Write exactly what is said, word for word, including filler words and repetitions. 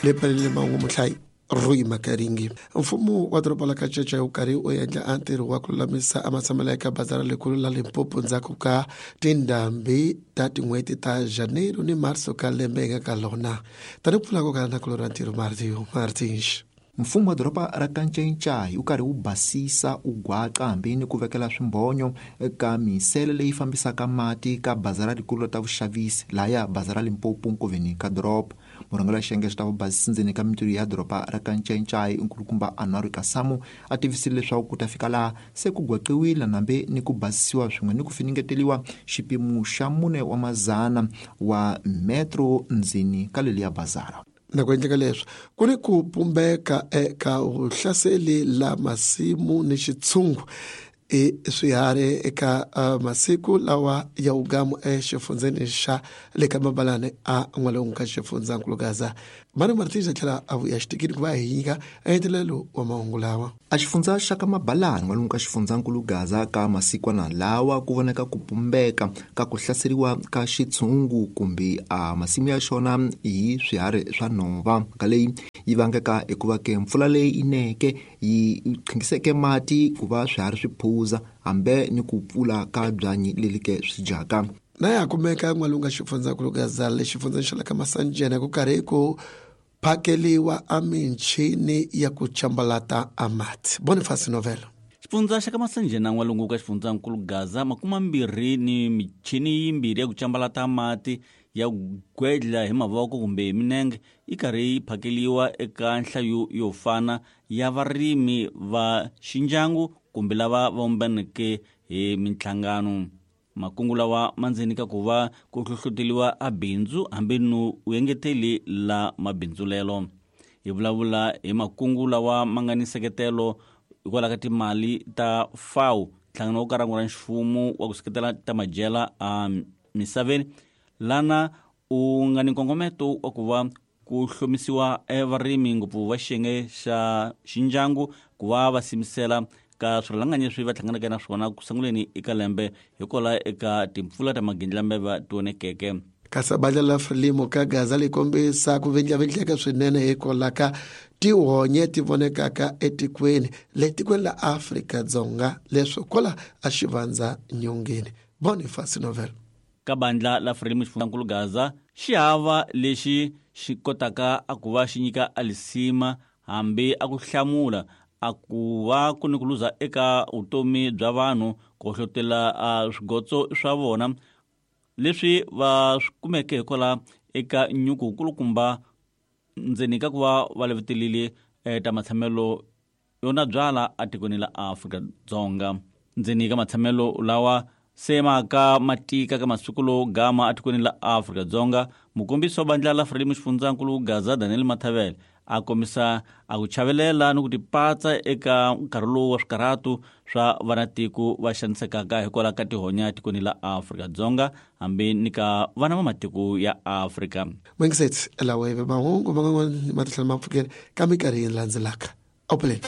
Lepelele mahungu muhlayi Rui Makaringi. Mfumo wa doroba la Kacheche wu karhi u endla a ntirho wa ku lulamisa a matshamelo eka bazara lekulu la Limpopo ndzhaku ka tindhambi ta tin'hweti ta Janeiro ni Marso ka lembe hi nga ka lona. Tani ku pfula ko kala na kulo ra ntirho Martio Martins. Mfumo wa doroba ra Kanchenchai wu karhi wu basisa u gwaqa hambi ni ku vekela swimbhonyo eka misele leyi fambisaka mati ka bazara rikulu ta vuxavisi laya bazara Limpopo nkoveni ka doroba. Murhangeri wa xiyenge xa vubasisi ndzeni ka mintirho ya doroba ra Kanchenchai nkulukumba Anwar Kasamu a tivisile leswaku ku ta fika laha se ku gwaqiwile nambe ni ku basisiwa swin'we ni ku finingeteliwa xipimo xa mune wa mazana wa metro ndzeni ka leliya bazara. Na ku endleka leswi ku ni ku pumbeka eka vuhlaseli la masimu ni xitshungu i swiharhi eka masiku lawa ya ugamu exifundzeni xa le ka Mabalane a n'walungu ka xifundzankulu Gaza. Mani Martins a tlhela a vuya xitikini ku va hi nyika engetelelo wa mahungu lawa. A xifundza xa ka Mabalane n'walungu ka xifundzankulu Gaza ka masikwana lawa ku voneka ku pumbeka ka ku hlaseriwa ka xitshungu kumbe a masimu ya xona hi swiharhi swa nhova. Mhaka leyi yi vangeka hikuva ke mpfula leyi yi neke yi qhingiseke mati ku va swiharhi swi phuza hambe ni ku pfula ka byanyi leli ke swi dyaka. Na ya kumeka n'walungu ka xifundzankulu Gaza le xifundzeni xa le ka Masanjena ku karhi ku phakeliwa a michini ya ku chambalata a mati. Boniface Novelo. Xifundza xa ka Masanjena n'walungu ka xifundzankulu Gaza makuma mbirhi ni michini yimbirhi ya ku chambalata mati ya gwedla hi mavoko kumbe hi minenge yi karhi yi phakeliwa eka nhlayo yo fana ya varimi va xindyangu kumbe lava va vumbaneke hi minhlangano. Makungu lawa ma ndzeni ka ku va ku hlohloteliwa a bindzu hambi no u engeteli la mabindzulelo. Hi vulavula hi makungu lawa ma nga ni nseketelo hikwalaho ka timali ta F A O, nhlangano wo karhi ra mfumo wa ku seketela ta madyela a misaveni, lana u nga ni nkongometo wa ku va ku hlomisiwa evarimi ngopfu va xiyenge xa xindyangu ku va va simisela ka swirhalanganyi leswi va hlanganeke na swona ku sunguleni eka lembe hikwalaho eka timpfula ta magindlambeva ti onekeke. Kasi bandla la Frelimo ka Gaza li kombisa ku vindlavindleka swinene hikwalaho ka tihonye ti vonekaka etikweni le tikweni la Afrika-Dzonga leswi kwala a xivandza nyongeni. Boniface Novel. Ka bandla la Frelimo xifundzankulu Gaza xi hava lexi xi kotaka a ku va xi nyika alisima hambi a ku hlamula a ku va ku ni ku luza eka vutomi bya vanhu ku hohlotela a swigotso swa vona leswi va swi kumeke hikwalaho eka nyuku kulukumba ndzeni ka ku va va levetelile ta matshamelo yona byala etikweni la Afrika-Dzonga. Ndzeni ka matshamelo lawa se maka matika ka masiku lowo gama etikweni la Afrika-Dzonga, mukombisi wa bandla la Frelimo xifundzankulu Gaza Daniel Mathavele a kombisa a ku chavelela ni ku tipatsa eka nkarhi lowu wa swikarhatu swa vanatiko va xanisekaka hikwalaho ka tihonya etikweni la Afrika-Dzonga hambi ni ka vana va matiko ya Afrika. Mwingiseti lawa hi mahungu man'wana ma titlhela ma pfukela ka minkarhi yi landzelaka. Awupheleni.